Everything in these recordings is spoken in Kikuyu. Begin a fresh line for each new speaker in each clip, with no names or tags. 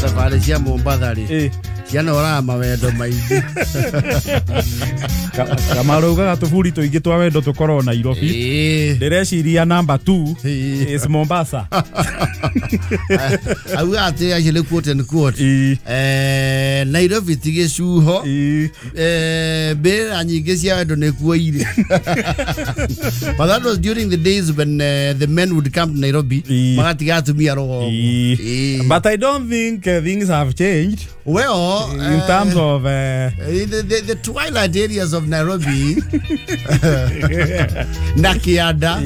Thabarĩ cia Mombatha rĩ cianoraga mawendo maingĩ.
Kamaraugaga tũburi tũingĩ twa wendo tũkorwo Nairobi. Ndĩreciria number 2 is Mombasa.
Auga atĩ acio nĩ quote and quote. Nairobi ti gĩcuho. Mbĩrĩra nyingĩ cia wendo nĩkuo irĩ. But that was during the days when the men would come to Nairobi magatiga atumia rũgongo.
But I don't think things have changed.
Well,
in terms of
the twilight areas of Nairobi na Kianda.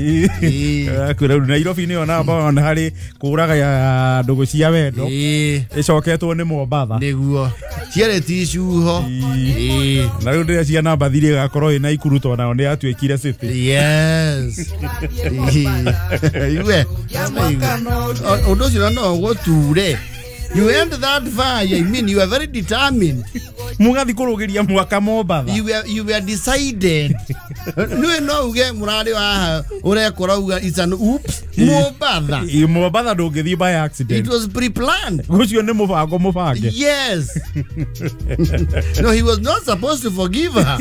Kwĩra Nairobi nĩyo namba one harĩ kũraga ya ndũgũ cia wendo ĩcoketwo nĩ Mombatha.
Nĩguo ciarĩ ti icuho.
Na rĩu ndĩreciria namba 3 ĩgakorwo ĩ Naikuru tondũ nayo nĩ yatuĩkire city.
Yes. Iwe ũndũ ũcio no ũgũture. You end that far, I mean, you are very determined.
Mugathi kũrũgĩria mwaka Mombatha.
You were decided. Niwe no uge mũrarĩ haha ũrekora uga it's an oops. Mombatha.
Mombatha ndũngĩthiĩ by accident.
It was pre-planned.
Ũcio nĩ mũbango mũbange.
Yes. No, he was not supposed to forgive her.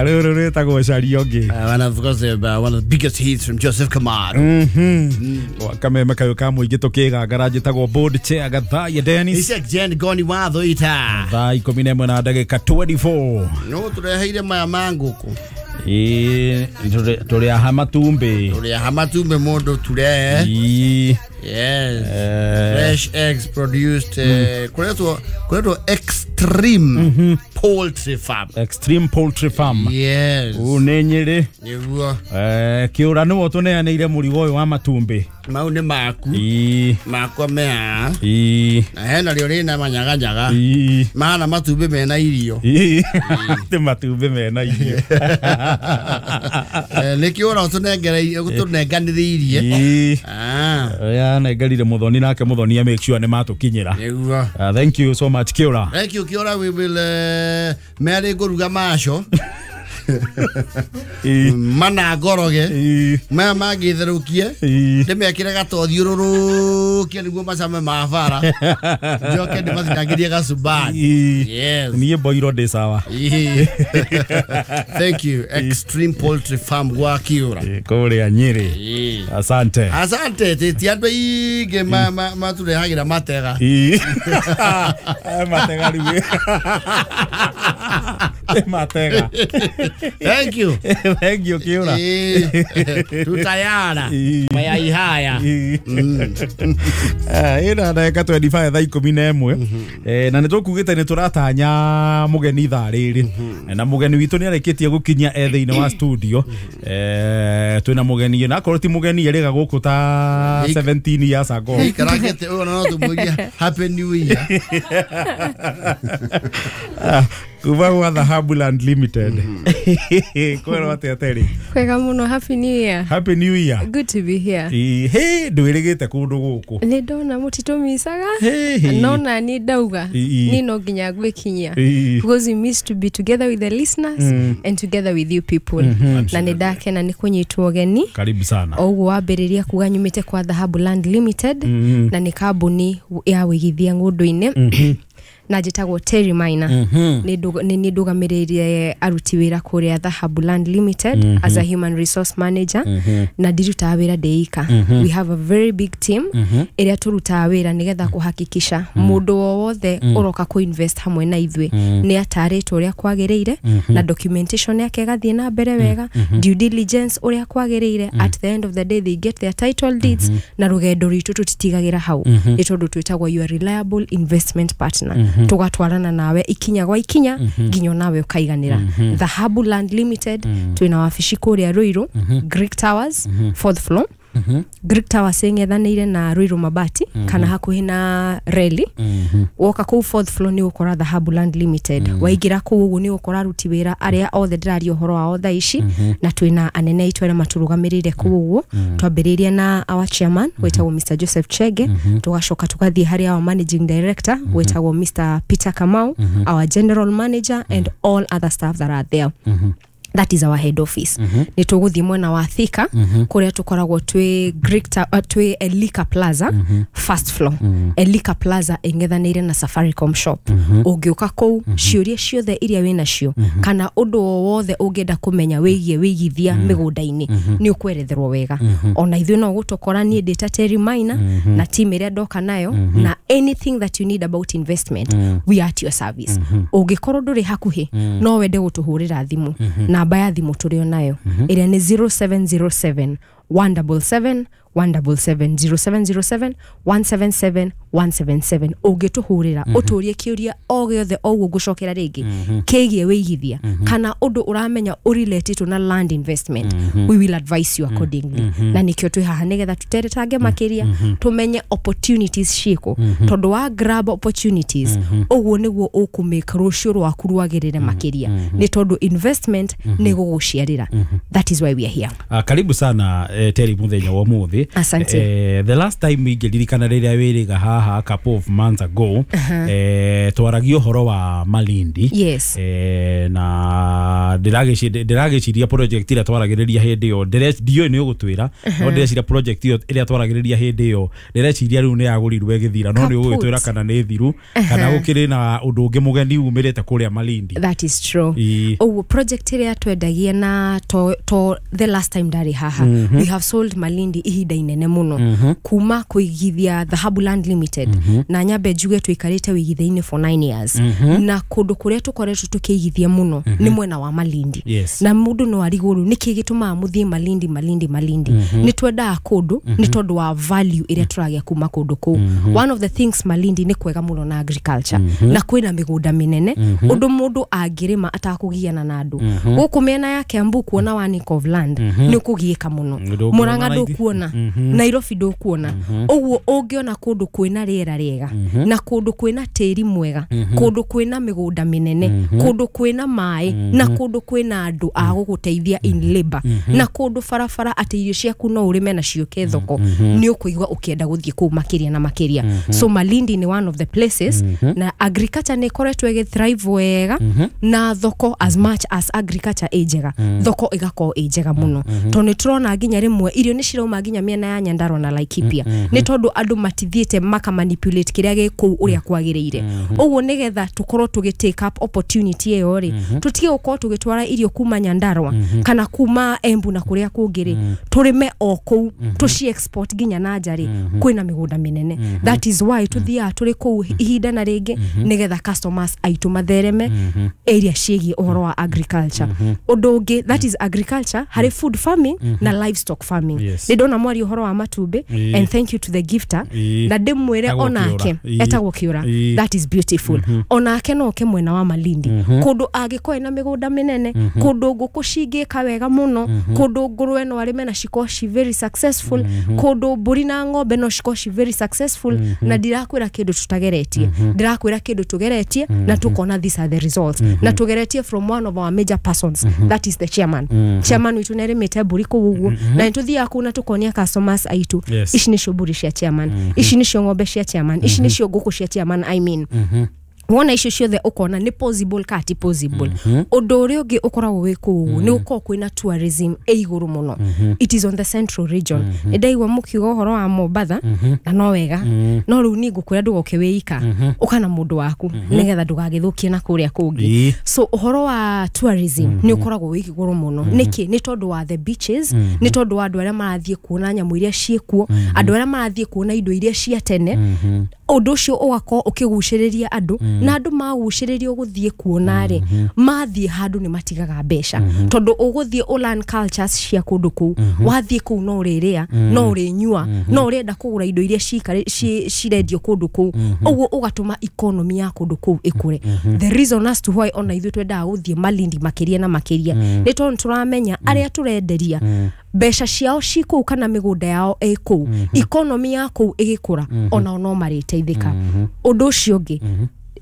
Rĩu rĩu rĩtagwo caria ũngĩ.
And of course, one of the biggest hits from Joseph Kamaru.
Kameme kayũ ka mũingĩ tũkĩgangara njĩtagwo board chair Gathaiya Dennis.
Isaac Jen Goni watho ita.
Thaa 11 na ndagĩka 24.
No tũreheire maya ma ngũkũ.
Ĩĩ, tũrĩ aha matumbĩ.
Tũrĩ aha matumbĩ mũndũ ture. Yes. Fresh eggs produced kuretwo Extreme Poultry Farm.
Extreme Poultry Farm.
Yes.
Ũũ nĩ Nyĩrĩ.
Nĩguo.
Kĩũra nĩwe ũtũneanĩire mũrigo ũyũ wa matumbĩ.
Mau nĩ maku. Makwa me haha. Na hena rĩo rĩna manyaganyaga. Mahana matumbĩ mena irio.
Ti matumbĩ mena irio.
Nĩkĩo ũra ũtũnengereirie ũtũnenganĩrĩirie. Ah.
Yanengerire Muthoni nake Muthoni make sure nĩ matũkinyĩra.
Nĩguo.
Thank you so much, Kĩũra.
Thank you, Kĩũra. We will merĩ ngũruga maco mana ngoroge maya mangĩtherũkie ndĩmekĩre gatothiũrũrũkie nĩguo macame ma bara njoke ndĩmatinangĩrie gacumbari. Yes.
Niĩ mboirwo ndĩ sawa.
Thank you, Extreme Poultry Farm gwa Kĩũra.
Kũrĩa Nyĩrĩ. Asante.
Asante. Ti andũ aingĩ matũrehagĩra matega.
Matega rĩu. Matega.
Thank you.
Thank you, Kĩũra.
Tutayara mayai haya.
Ĩna ndagĩka 25 thaa 11. Na nĩ tũkugĩte nĩ tũratanya mũgeni thaa rĩrĩ na mũgeni witũ nĩ arĩkĩtie gũkinyia e thĩinĩ wa studio. Twĩna mũgeni na akorwo ti mũgeni erĩga gũkũ ta 17 years ago.
Ikarangĩte ũyũ no tũmũrie happy new year.
Kuma gwa Dhahabu Land Limited kwĩrwo atĩa Terry?
Kwega muno, happy new year.
Happy new year.
Good to be here.
Ĩ, ndwĩrĩgĩte kũndũ gũkũ.
Nĩ ndona mũtitũmicaga.
Hey.
No nani ndauga ni no nginya gwĩkinyia because we miss to be together with the listeners and together with you people, na nĩ ndakena nĩ kũnyitwo ũgeni.
Karibu sana.
O ũguo wambĩrĩria kuga nyumĩte kwa Dhahabu Land Limited na nĩ kambuni ya wĩigithia ng'ũndũ-inĩ na njĩtagwo Terry Maina. Nĩ ndũgamĩrĩire aruti wĩra kũrĩa Dhahabu Land Limited as a human resource manager na ndirutaga wĩra ndĩ ika. We have a very big team ĩrĩa tũrutaga wĩra nĩgetha kũhakikisha mũndũ o wothe ũroka kũ-invest hamwe na ithuĩ nĩ atarĩtwo ũrĩa kwagĩrĩire na documentation yake ĩgathiĩ na mbere wega, due diligence ũrĩa kwagĩrĩire. At the end of the day, they get their title deeds na rũgendo rwitũ tũtitigagĩra hau nĩ tondũ twĩtagwo your reliable investment partner. Tũgatwarana nawe ikinya gwa ikinya nginya onawe ũkaiganĩra. Dhahabu Land Limited twĩna wabici kũrĩa Ruiru, Greek Towers, fourth floor. Greek Towers ĩng'ethanĩire na Ruiru Mabati kana hakuhĩ na reli. Woka kũu fourth floor nĩ ũgũkora Dhahabu Land Limited. Waingĩra kũu ũguo nĩ ũgũkora aruti wĩra arĩa othe ndĩraria ũhoro wao thaa ici na twĩna anene aitũ arĩa matũrũgamĩrĩire kũu ũguo, twambĩrĩirie na our chairman wĩtagwo Mr Joseph Chege, tũgacoka tũgathiĩ harĩ our managing director wĩtagwo Mr Peter Kamau, our general manager and all other staff that are there. That is our head office. Nĩ tũgũthiĩ mwena wa Thika, kũrĩa tũkoragwo twĩ twĩ Elika Plaza, first floor. Elika Plaza ĩng'ethanĩire na Safaricom shop. Ũngĩũka kũu, ciũria ciothe iria wĩ nacio kana ũndũ o wothe ũngĩenda kũmenya wĩgiĩ wĩigithia mĩgũnda-inĩ, nĩ ũkweretherwo wega. Ona ithuĩ no gũtũkora, niĩ ndĩ ta Terry Maina na team ĩrĩa ndoka nayo, na anything that you need about investment, we are at your service. Ũngĩkorwo ndũrĩ hakuhĩ, no wende gũtũhũrĩra thimũ, namba ya thimũ tũrĩ o nayo ĩrĩa nĩ 0707 177 177, 0707 177 177. Ũngĩtũhũrĩra ũtũrie kĩũria o gĩothe, o ũguo ngũcokera rĩngĩ, kĩgiĩ wĩigithia kana ũndũ ũramenya ũrelated na land investment, we will advise you accordingly. Na nĩkĩo twĩ haha, nĩgetha tũteretange makĩria, tũmenye opportunities ciĩkũ, tondũ wa grab opportunities, ũguo nĩguo ũkũmake rũciũ rwaku rwagĩrĩre makĩria, nĩ tondũ investment nĩ gũgũciarĩra. That is why we are here.
Karibu sana Terry muthenya wa umuthi.
Asante.
The last time ingĩririkana rĩrĩa wĩrĩga haha, a couple of months ago, twaragia ũhoro wa Malindi. Na ndĩragĩciria project ĩrĩa twaragĩrĩria hĩndĩ ĩyo, ndiũĩ nĩ ũgũtwĩra, no ndĩreciria project ĩyo ĩrĩa twaragĩrĩria hĩndĩ ĩyo, ndĩreciria rĩu nĩ yagũrirwo ĩgĩthira, no nĩ ũgũgĩtwĩra
Kaput.
kana nĩ thiru kana gũkĩrĩ na ũndũ ũngĩ mũgeni umĩrĩte kũrĩa Malindi.
That is true.
Ĩĩ.
Ũguo project ĩrĩa twendagia na to the last time ndarĩ haha, we have sold Malindi ihinda inene mũno kuma kũigithia Dhahabu Land Limited. Na nyambe njuge tũikarĩte wĩigithia-inĩ for 9 years, na kũndũ kũrĩa tũkoretwo tũkĩigithia mũno nĩ mwena wa Malindi. Na mũndũ no arigwo rĩu nĩkĩ gĩtũmaga mũthiĩ Malindi, Malindi, Malindi. Nĩ twendaga kũndũ nĩ tondũ wa value ĩrĩa tũragĩa kuma kũndũ kũu. One of the things, Malindi nĩ kwega mũno na agriculture, na kwĩna mĩgũnda mĩnene ũndũ mũndũ angĩrĩma atakũgiana na andũ. Gũkũ mĩena ya Kiambu kuona one acre of land nĩ ũkũgiĩka mũno.
Ndũkuona
Mũrang'a
raithi.
ndũkuona, Nairobi ndũkuona. Ũguo ũngĩona kũndũ kwĩna rĩera rĩega na kũndũ kwĩna tĩri mwega, kũndũ kwĩna mĩgũnda mĩnene, kũndũ kwĩna maĩ, na kũndũ kwĩna andũ a gũgũteithia in labor, na kũndũ barabara atĩ irio ciaku no ũrĩme na ciũke thoko, nĩ ũkũigua ũkĩenda gũthiĩ kũu makĩria na makĩria. So Malindi ni one of the places, na agriculture nĩ ĩkoretwo ĩgĩ thrive wega na thoko. As much as agriculture ĩ njega, thoko ĩgakorwo ĩ njega mũno, tondũ nĩ tũrona nginya rĩmwe irio nĩ cirauma nginya mĩena ya Nyandarua na Laikipia, nĩ tondũ andũ matithiĩte maka manipulate kĩrĩa gĩ kũu ũrĩa kwagĩrĩire. Ũguo nĩgetha tũkorwo tũgĩ take up opportunity ĩyo rĩ, tũtige gũkorwo tũgĩtwara irio kuma Nyandarua kana kuma Embu na kũrĩa kũngĩ rĩ, tũrĩme o kũu, tũci export nginya na nja rĩ, kwĩna mĩgũnda mĩnene. That is why tũthiaga tũrĩ kũu ihinda na rĩngĩ, nĩgetha customers aitũ mathereme area ciĩgiĩ ũhoro wa agriculture. Ũndũ ũngĩ, that is agriculture, harĩ food farming na livestock farming. Nĩ ndona mwari ũhoro wa matumbĩ, and thank you to the gifter. Na ndĩmwĩre
Etagwo
onake
Kĩũra.
Etagwo Kĩũra. That is beautiful. Onake no oke mwena wa Malindi, kũndũ angĩkorwo ena mĩgũnda mĩnene, kũndũ ngũkũ cingĩka wega mũno, kũndũ ngũrwe no arĩme na cikorwo ci very successful, kũndũ mbũri na ng'ombe no cikorwo ci very successful. Na ndirakwĩra kĩndũ tũtageretie, ndirakwĩra kĩndũ tũgeretie na tũkona these are the results, na tũgeretie from one of our major persons, that is the chairman. Chairman witũ nĩarĩmĩte mbũri kũu ũguo, na nĩtũthiaga kũu na tũkonia customers aitũ, ici nĩcio mbũri cia chairman, ici nĩcio ng'ombe cia chairman, ici nĩcio ngũkũ cia chairman. I mean, wona icio ciothe ũkona nĩ possible ka ti possible. Ũndũ ũrĩa ũngĩ ũkoragwo wĩ kũu ũguo, nĩ gũkorwo kwĩna tourism ĩ igũrũ mũno. It is on the central region. Nĩ ndaigua mũkiuga ũhoro wa Mombatha, na no wega, no rĩu niĩ ngũkwĩra ndũgoke wĩ ika, ũka na mũndũ waku, nĩgetha ndũgagĩthũkie na kũrĩa kũngĩ. So ũhoro wa tourism nĩ ũkoragwo wĩ igũrũ mũno. Nĩkĩ? Nĩ tondũ wa the beaches, nĩ tondũ wa andũ arĩa marathiĩ kuona nyamũ iria ciĩkuo, andũ arĩa marathiĩ kuona indo iria cia tene. Ũndũ ũcio ũgakorwo ũkĩgucĩrĩria andũ, na andũ magucĩrĩrio gũthiĩ kuona rĩ, mathiĩ handũ nĩ matigaga mbeca, tondũ ũgũthiĩ ũ learn cultures cia kũndũ kũu. Wathiĩ kũu no ũrĩrĩa, no ũrĩnyua, no ũrenda kũgũra indo iria cirendio kũndũ kũu. Ũguo ũgatũma economy ya kũndũ kũu ĩkũre. The reason as to why ona ithuĩ twendaga gũthiĩ Malindi makĩria na makĩria nĩ tondũ tũramenya arĩa tũrenderia mbeca ciao ci kũu kana mĩgũnda yao ĩ kũu, economy ya kũu ĩgĩkũra, onao no marĩteithĩka. Ũndũ ũcio ũngĩ,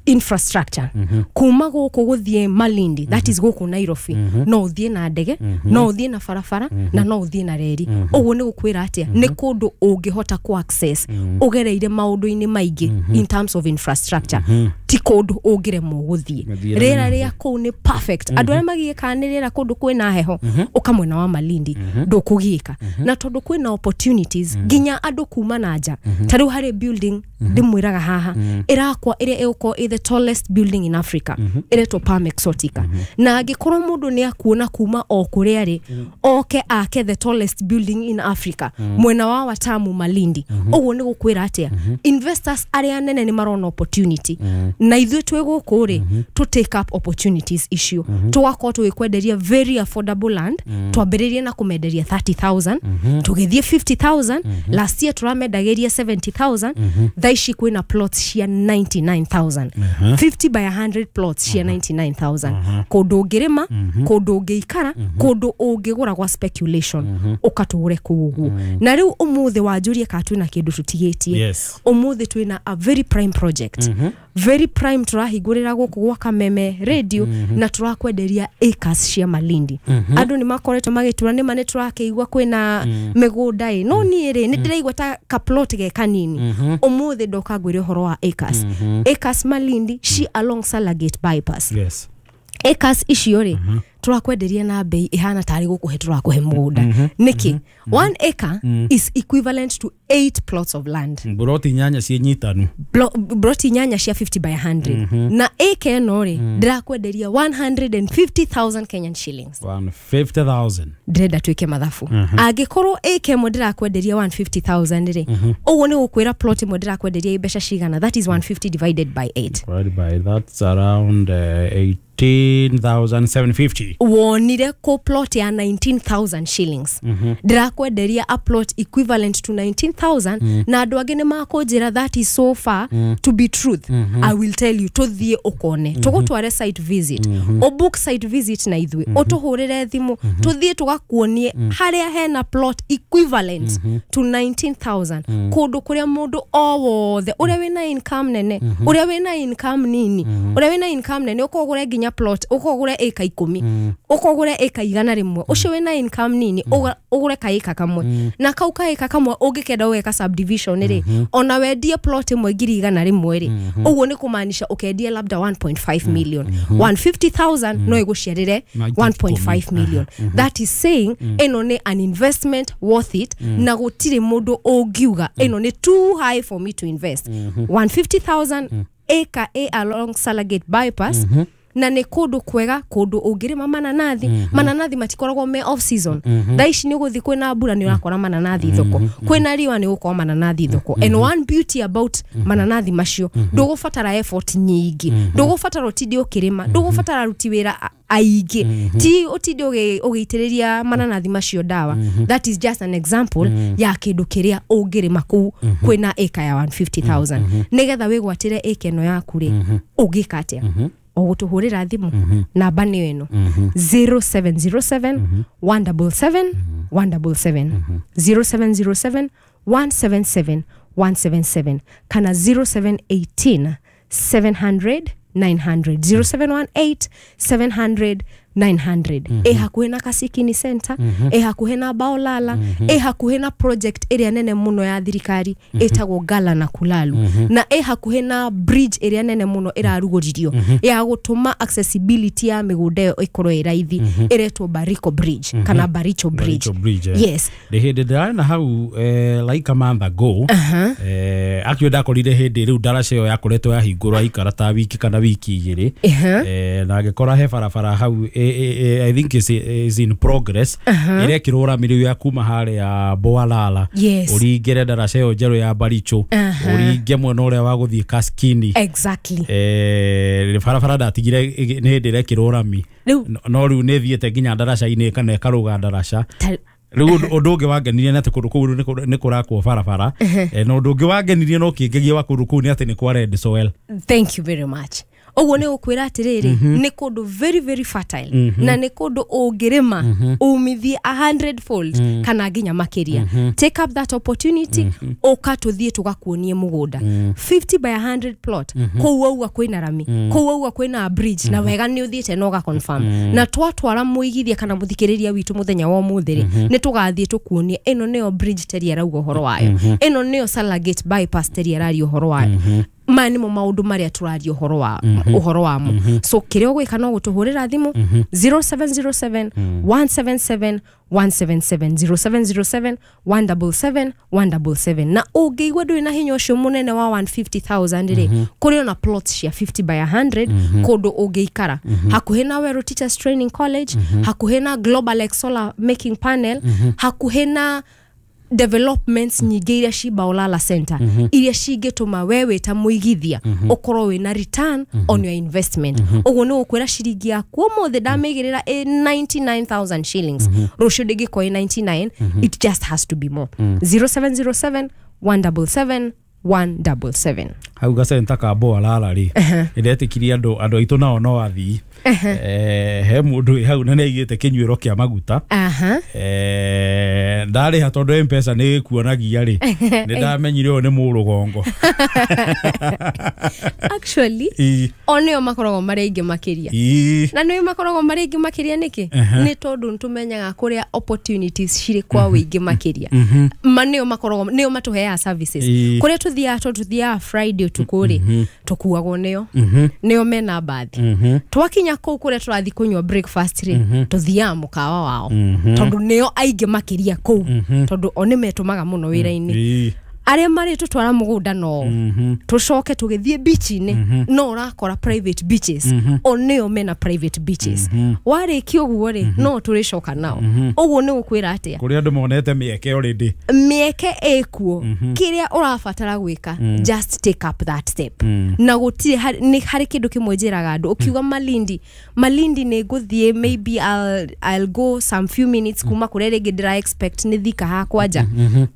Infrastructure kuma gũkũ gũthiĩ Malindi, that is gũkũ Nairobi, no ũthiĩ na ndege, no ũthiĩ na barabara, na no ũthiĩ na reri. Ũguo nĩ gũkwĩra atĩa? Nĩ kũndũ ũngĩhota ku access ũgereire maũndũ-inĩ maingĩ in terms of infrastructure. Ti kũndũ ũngĩremwo gũthiĩ.
Mĩthiĩre.
Rĩera rĩa kũu nĩ perfect. Andũ arĩa magiĩkaga nĩ rĩera kũndũ kwĩna heho, ũka mwena wa Malindi, ndũkũgiĩka. Na tondũ kwĩna opportunities nginya andũ kuma na nja, ta rĩu harĩ building ndĩmwĩraga haha ĩrakwa, ĩrĩa ĩgũkorwo ĩ the tallest building in Africa, ĩretwo Palm Exotica. Na angĩkorwo mũndũ nĩ akuona kuma o kũrĩa arĩ oke ake the tallest building in Africa mwena wa Watamu, Malindi, ũguo nĩ gũkwĩra atĩa? Investors arĩa nene nĩ marona opportunity, na ithuĩ twĩ gũkũ rĩ, to take up opportunities icio, tũgakorwo tũgĩkwenderia very affordable land. Twambĩrĩrie na kũmenderia 30,000, tũgĩthiĩ 50,000, last year tũramendagĩria 70,000. Thaa ici kwĩna plots cia 99,000, 50 by 100 plots cia 99,000, kũndũ ũngĩrĩma, kũndũ ũngĩikara, kũndũ ũngĩgũra gwa speculation, ũkatũgũre kũu ũguo. Na rĩu ũmũthĩ wanjũrie kana twĩna kĩndũ tũtigĩtie.
Yes.
Ũmũthĩ twĩna a very prime project, very prime, tũrahingũrĩra gũkũ gwa Kameme Radio, na tũrakwenderia acres cia Malindi. Andũ nĩ makoretwo magĩtura nĩma nĩ tũrakĩigua kwĩna mĩgũnda ĩ, no niĩ rĩ, nĩ ndĩraigua ta ka plot ge kanini. Ũmũthĩ ndoka ngwĩre ũhoro wa acres, acres Malindi ci along Salagate bypass. Acres icio rĩ, tũrakwenderia na bei ĩhana tarĩ gũkũhe tũrakũhe mũgũnda. Nĩkĩ? 1 acre is equivalent to 8 plots of land.
Mburoti 8 ciĩ nyitanu.
Broti 8 cia 50 by 100. Na acre ĩno rĩ, ndĩrakwenderia 150,000 Kenyan shillings.
150,000.
Ndĩrenda twĩke mathabu. Angĩkorwo acre ĩmwe ndĩrakwenderia 150,000 rĩ, ũguo nĩ gũkwĩra plot ĩmwe ndĩrakwenderia mbeca cigana? That is 150 divided by 8.
Divided by, that's around 18,750.
Wonire kũ plot ya 19,000 shillings? Ndĩrakwenderia a plot equivalent to 19,000. Na andũ angĩ nĩ makũnjĩra that is so far to be truth. I will tell you, tũthiĩ ũkone, tũgũtware site visit, ũbook site visit na ithuĩ, ũtũhũrĩre thimũ, tũthiĩ tũgakuonie harĩa hena plot equivalent to 19,000, kũndũ kũrĩa mũndũ o wothe, ũrĩa wĩna income nene, ũrĩa wĩna income nini, ũrĩa wĩna income nene ũkogũre nginya plot, ũkogũre ĩka 10, ũkogũre ĩka 100, ũcio wĩna income nini ũgũre kaĩka kamwe, na kau kaĩka kamwe ũngĩkenda ũgeka subdivision rĩ, ona wendie plot ĩmwe 100,000 rĩ, ũguo nĩ kũmaanisha ũkendie labda 1.5 million. 150,000 no ĩgũciarĩre 1.5 million. That is saying ĩno nĩ an investment worth it, na gũtirĩ mũndũ ũngiuga ĩno nĩ too high for me to invest. 150,000 acre a along Salagate bypass, na nĩ kũndũ kwega, kũndũ ũngĩrĩma mananathi. Mananathi matikoragwo me off season. Thaa ici nĩ ũgũthiĩ, kwĩna mbura nĩ ũrakora mananathi thoko, kwĩna riũa nĩ ũgũkora mananathi thoko. And one beauty about mananathi macio, ndũgũbatara effort nyingĩ, ndũgũbatara ũtinde ũkĩrĩma, ndũgũbatara aruti wĩra aingĩ, ti ũtinde ũgĩitĩrĩria mananathi macio ndawa. That is just an example ya kĩndũ kĩrĩa ũngĩrĩma kũu kwĩna ĩka ya 150,000. Nĩgetha wĩgwatĩre ĩka ĩno yaku rĩ, ũngĩka atĩa? O gũtũhũrĩra thimũ, namba nĩyo ĩno: 0707 177 177, 0707 177 177, kana 0718 700 900, 0718 700 900. Ĩ hakuhĩ na Kasikini Center, ĩ hakuhĩ na Baolala, ĩ hakuhĩ na project ĩrĩa nene mũno ya thirikari ĩtagwo Gala na Kulalu, na ĩ hakuhĩ na bridge ĩrĩa nene mũno ĩrarugũririo ya gũtũma accessibility ya mĩgũnda ĩyo ĩkorwo ĩ raithi, ĩretwo Bariko Bridge kana Baricho Bridge.
Baricho Bridge, eh.
Yes.
Ndĩ hĩndĩ ndĩrarĩ na hau like a month ago, actually ndakorire hĩndĩ rĩu ndaraca ĩyo yakoretwo yahingũrwo aikara ta wiki kana wiki 2. Na ngĩkora he barabara hau I think is in progress, ĩrekĩrwo rami rĩu ya kuma harĩa Boalala, ũringĩre ndaraca ĩyo njerũ ya Baricho, ũringe mwena ũrĩa wa gũthiĩ Kaskini. Barabara ndatigire nĩ hĩndĩ ĩrekĩrwo rami. No rĩu nĩ ĩthiĩte nginya ndaraca-inĩ kana ĩkarũga ndaraca. Rĩu ũndũ ũngĩ wangenirie nĩ atĩ kũndũ kũu nĩ kũrakwo barabara. Na ũndũ ũngĩ wangenirie no kĩngegia wa kũndũ kũu nĩ atĩ nĩ kwa red soil.
Thank you very much. Ũguo nĩ gũkwĩra atĩrĩrĩ, nĩ kũndũ very very fertile, na nĩ kũndũ ũngĩrĩma umithie 100 fold kana nginya makĩria. Take up that opportunity, ũka tũthiĩ tũgakuonie mũgũnda 50 by 100 plot. Kũu wauga kwĩna rami, kũu wauga kwĩna bridge, na wega nĩ ũthiĩte na ũga confirm. Na twatwara mũigithia kana mũthikĩrĩria witũ mũthenya wa ũmũthĩ rĩ, nĩ tũgathiĩ tũkuonie ĩno nĩyo bridge Terry arauga ũhoro wayo, ĩno nĩyo Salagate bypass Terry araria ũhoro wayo. Maya nĩmo maũndũ marĩa tũraria ũhoro wamo. So kĩrĩa ũgwĩka no gũtũhũrĩra thimũ 0707 177 177, 0707 177 177. Na ũngĩigua ndũrĩ na hinya ũcio mũnene wa 150,000 rĩ, kũrĩ ona plots cia 50 by 100 kũndũ ũngĩikara hakuhĩ na Weru Teachers Training College, hakuhĩ na Global X Solar Making Panel, hakuhĩ na developments nyingĩ iria ci Baolala Center, iria cingĩtũma we wĩ ta mũigithia ũkorwo wĩna return on your investment. Ũguo nĩ gũkwĩra ciringi yaku ũmũthĩ ndamĩigĩrĩra ĩ 99,000 shillings, rũciũ ndĩngĩkorwo ĩ 99, it just has to be more. 0707 177 177.
Hau gacenta ka Boalala rĩ, ndetĩkirie andũ aitũ nao no athii. He mũndũ wĩ hau na nĩ aigĩte kĩnyuĩro kĩa maguta. Ndarĩha tondũ M-Pesa nĩ ĩkuonagia rĩ, nĩ ndamenyire ũyũ nĩ mũrũgongo.
Actually, o nĩo makoragwo marĩ aingĩ makĩria. Na nĩo makoragwo marĩ aingĩ makĩria nĩkĩ? Nĩ tondũ nĩtũmenyaga kũrĩa opportunities cirĩ kwa wĩingĩ makĩria. Ma nĩo makoragwo nĩo matũheaga services. Kũrĩa tũthiaga, tondũ tũthiaga Friday ũtukũ rĩ, tũkuagwo nĩo. Nĩo mena mbathi. Twakinya kũu kũrĩa tũrathiĩ kũnyua breakfast rĩ, tũthiaga mũkawa wao. Tondũ nĩo aingĩ makĩria kũu. Tondũ o nĩmetũmaga mũno wĩra-inĩ. Arĩa marĩ tũtwara mũgũnda no tũcoke tũgĩthiĩ beach-inĩ, no ũrakora private beaches, o nĩo mena private beaches. Warĩkia ũguo rĩ, no tũrĩcoka nao. Ũguo nĩ gũkwĩra atĩa?
Kũrĩa andũ monete mĩeke already.
Mĩeke ĩkuo. Kĩrĩa ũrabatara gwĩka, just take up that step. Na gũtirĩ nĩ harĩ kĩndũ kĩmwe njĩraga andũ, ũkiuga Malindi, Malindi nĩ ngũthiĩ, maybe I'll go some few minutes kuma kũrĩa rĩngĩ ndĩra expect nĩ Thika hakwa nja.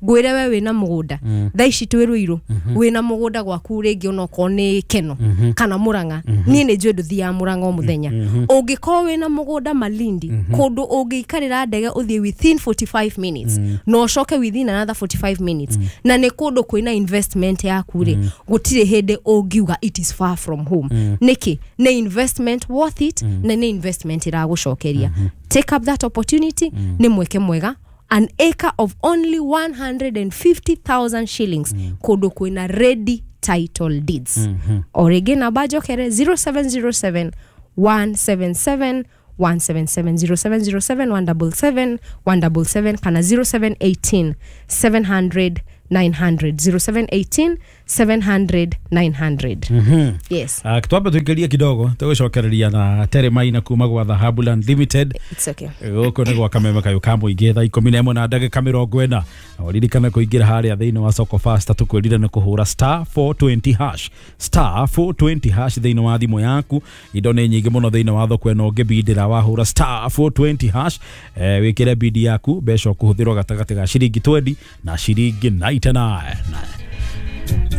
Ngwĩre we wĩna mũgũnda thaa ici twĩ Ruiru, wĩna mũgũnda gwaku rĩngĩ onokorwo nĩ Keno kana Murang'a, niĩ nĩ njũĩ ndũthiaga Murang'a o mũthenya. Ũngĩkorwo wĩna mũgũnda Malindi, kũndũ ũngĩikarĩra ndege ũthiĩ within 45 minutes na ũcoke within another 45 minutes, na nĩ kũndũ kwĩna investment yaku rĩ, gũtirĩ hĩndĩ ũngiuga it is far from home. Nĩkĩ? Nĩ investment worth it, na nĩ investment ĩragũcokeria. Take up that opportunity, nĩ mweke mwega. An acre of only 150,000 shillings, kũndũ kwĩna ready title deeds. O rĩngĩ namba njokere 0707 177 177, 0707 177 177, kana 0718 700 900, 0718 700 900. Yes.
Twambe tuingĩrie kidogo tũgũcokereria na Terry Maina kuma gwa Dhahabu Land Limited.
It's okay.
Gũkũ nĩ gwa kameme kayũ ka mũingĩ thaa 11 na ndagĩka 40. Na ũririkane kũingĩra harĩa thĩinĩ wa Soko Fasta, tũkwĩrire nĩ kũhũra star 420 hash, star 420 hash thĩinĩ wa thimũ yaku. Indo nĩ nyingĩ mũno thĩinĩ wa thoko ĩno, ũngĩbindĩra wahũra star 420 hash, wĩkĩre bidi yaku, mbeca ũkũhũthĩrwo gatagatĩ ga ciringi 20 na ciringi 99.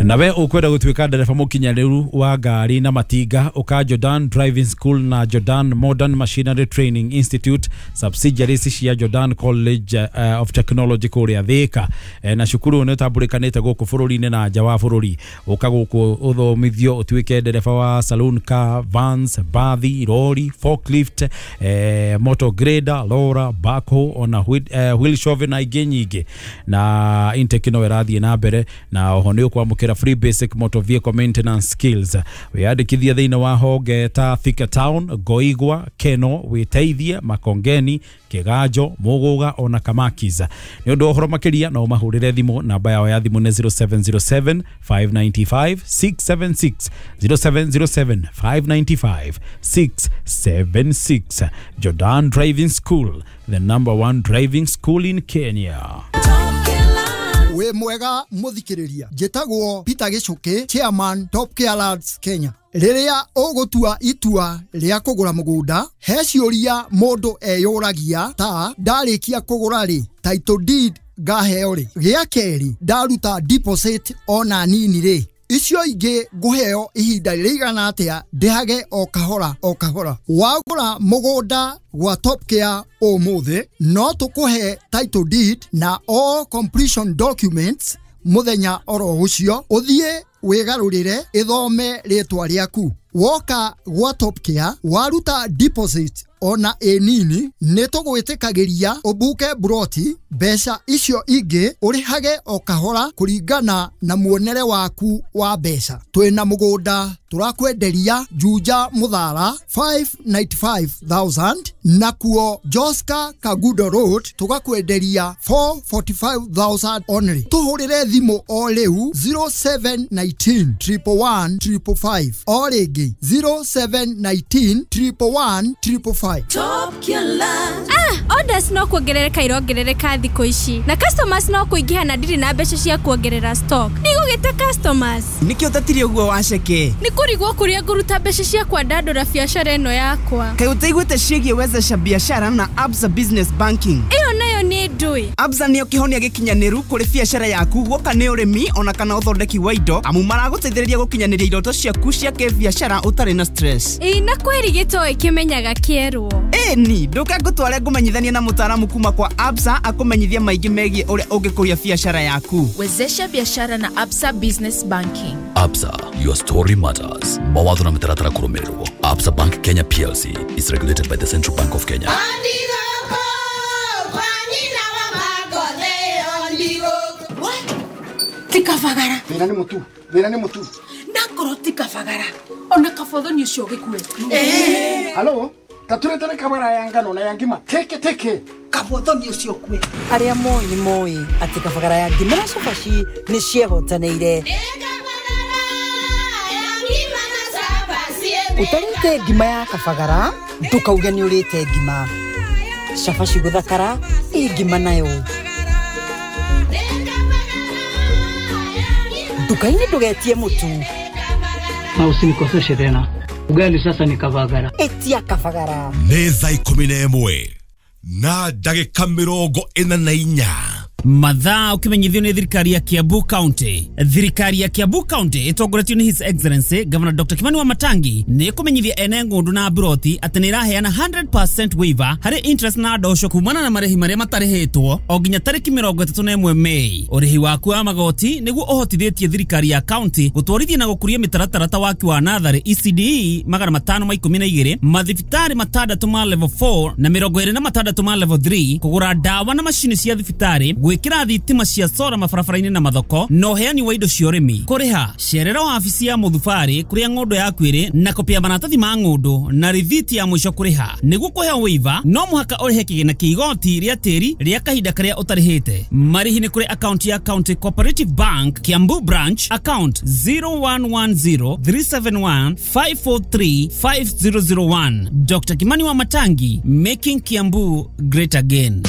Nawe ukwenda gutuika ndereba mukinyanĩru wa ngari na matinga, uka Jordan Driving School na Jordan Modern Machinery Training Institute, subsidiaries cia Jordan College of Technology kuria Thika. Na cukuru nĩ ũtambũrĩkanĩte gũkũ bũrũri-inĩ na nja wa bũrũri. Ũka gũkũ ũthomithio ũtuĩke ndereba wa saloon car, vans, bathi, lorry, forklift, motor grader, lora, backhoe, ona wheel shovel na ingĩ nyingĩ. Na intake no ĩrathiĩ na mbere, na oho nĩ ũkwamũkĩra free basic motor vehicle maintenance skills. Wiyandĩkithie thĩinĩ wa honge ta Thika Town, Goigwa, Keno, Wĩteithie, Makongeni, Kĩganjo, Mũgũga ona Kamakis. Nĩ ũndũ wa ũhoro makĩria no ũmahũrĩre thimũ, namba yao ya thimũ nĩ 0707 595 676, 0707 595 676. Jordan Driving School, the number one driving school in Kenya.
We mwega muthikiriria, njĩtagwo Peter Gichuki, chairman Top Care Lands Kenya. Rĩrĩa ũgũtua itua rĩa kũgũra mũgũnda, he ciũria mũndũ eyũragia ta ndarĩkia kũgũra rĩ, title deed ngaheo rĩ, gĩa kerĩ ndaruta deposit ona nini rĩ, Icio ingĩ ngũheo ihinda rĩigana atĩa ndĩhage o kahora o kahora. Wagũra mũgũnda gwa Top Care ũmũthĩ no tũkũhe title deed na all completion documents mũthenya oro ũcio, ũthiĩ wĩgarũrĩre ĩthome rĩtwa rĩaku. Woka gwa Top Care waruta deposit ona ĩ nini nĩ tũgwĩtĩkagĩria ũbuke buroti, mbeca icio ingĩ ũrĩhage o kahora kũringana na muonere waku wa mbeca. Twĩna mũgũnda tũrakwenderia Juja Muthara 595,000 nakuo Joska Kagudo Road tũgakwenderia 445,000 only. Tũhũrĩre thimũ o rĩu 0719 111 555 o rĩngĩ 0719 111 555.
Top Killer.
Orders no kuongerereka irongerereka thikũ ici na customers no kũingĩha na ndirĩ na mbeca cia kuongerera stock. Ndigũgĩta customers.
Nĩkĩo ũtatire ũguo waceke?
Nĩ kũrigwo kũrĩa ngũruta mbeca cia kwandandũra biacara ĩno yakwa.
Kaĩ ũtaiguĩte ciĩgiĩ wezesha biashara na Absa Business Banking?
Ĩyo nayo nĩ ndũĩ.
Absa nĩyo kĩhonia gĩkinyanĩru kũrĩ biacara yaku guoka nĩ ũrĩmi ona kana ũthondeki wa indo, amu maragũteithĩrĩria gũkinyanĩria iroto ciaku cia kĩbiacara ũtarĩ na stress.
Ĩĩ na kwĩri gĩtoĩ kĩmenyaga kĩerwo.
Ĩni ndũke ngũtware ngũmenyithanie na mũtaaramu kuma kwa Absa akũmenyithia maingĩ megiĩ ũrĩa ũngĩkũria biacara yaku.
Wezesha biashara na Absa Business Banking.
Absa, your story matters. Mawatho na mĩtaratara kũrũmĩrĩrwo. Absa Bank Kenya PLC is regulated by the Central Bank of Kenya.
Tikavagara.
Thĩna nĩ mũtu. Thĩna nĩ mũtu.
Nakorwo tikavagara. Ona kabothoni ũcio ũgĩkue.
Halo? Taturetere kabara ya ngano na ya ngima teke teke.
Kabothoni ũcio kue.
Arĩa moĩ nĩ moĩ atĩ kabagara ya ngima na cabaci nĩ ciehotanĩire. Ũtarĩte ngima ya kabagara ndũkauge nĩ ũrĩte ngima. Cabaci gũthakara ĩ ngima nayo. Nduka-inĩ ndũgetie mũtu.
Na usinikoseshe tena. Ugali sasa ni kabagara.
Etia kabagara.
Nĩ thaa 11 na ndagĩka 44.
Mathaa ukimenyithio nĩ thirikari ya Kiambu County. Thirikari ya Kiambu County ĩtongoretio nĩ His Excellency Governor Dr. Kimani Wamatangi nĩ ĩkũmenyithia ene ng'ũndũ na buroti atĩ nĩ ĩraheana 100% waiver harĩ interest na ndosho kumana na marĩhi marĩa matarĩhĩtwo o nginya tarĩki 31 Mei. Ũrĩhi waku wa magoti nĩguo ũhotithĩtie thirikari ya county gũtwarithia na gũkũria mĩtaratara ta waki wa natharĩ ECDE 512, mathibitarĩ 6 ma level 4 na 26 ma level 3, kũgũra ndawa na macini cia thibitarĩ, gwĩkĩra thitima cia sora mabarabara-inĩ na mathoko, na ũheani wa indo cia ũrĩmi. Kũrĩha cerera wabici ya mũthubarĩ kũrĩa ng'ũndũ yaku ĩrĩ na kopi ya maratathi ma ng'ũndũ na rithiti ya mũico kũrĩha. Nĩguo kũheo waiver no mũhaka ũrĩhe kĩgĩna kĩa igoti rĩa tĩri rĩa kahinda karĩa ũtarĩhĩte. Marĩhi nĩ kũrĩ akaunti ya County Cooperative Bank Kiambu Branch, account 01103715435001. Dr. Kimani Wamatangi, making Kiambu great again.